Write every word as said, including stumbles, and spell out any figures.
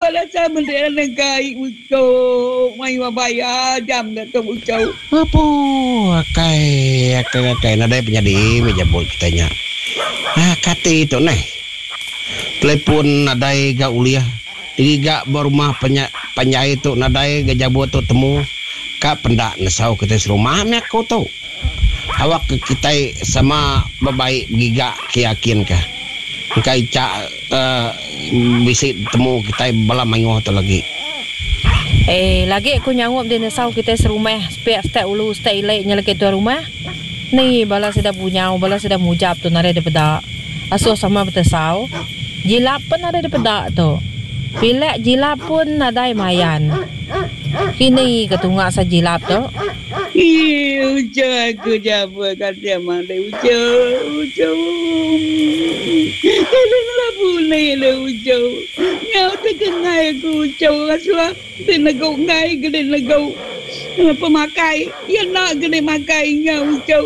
Bala sama dia negai ucuk. Mayuh bayar jam dah tu ucuk. Apu akai akai akai nadai penyadi meh jabut kitai nya. Ah kati tu neh. Telefon nadai ga ulih digiga ba rumah panjai tu nadai ga jabut tu temu ka penda nesau kitai serumah meh aku tu. Awak ke kitai sama bebai begiga ke yakin ka. Engka icha bisi temu kitai bala mayuh tu lagi. Eh lagi ku nyaup di nesau kitai serumah sepiak setak ulu setak ili nya lagi tuai rumah. Ni bala sida bunyau bala sida mujap tu nadai dipeda. Asuh sama betesau. Jilap pun nadai dipeda tu. Pilek jilap pun nadai mayan. Kini ke tunga sa jilap tu. Ii uchu aku jaba kasih amat deh uchu uchu. Tolong lah pulih deh uchu. Nyau tekengai aku uchu asuh ti negu enggai ke di negu pemakai iya enda ke di makai nya uchu.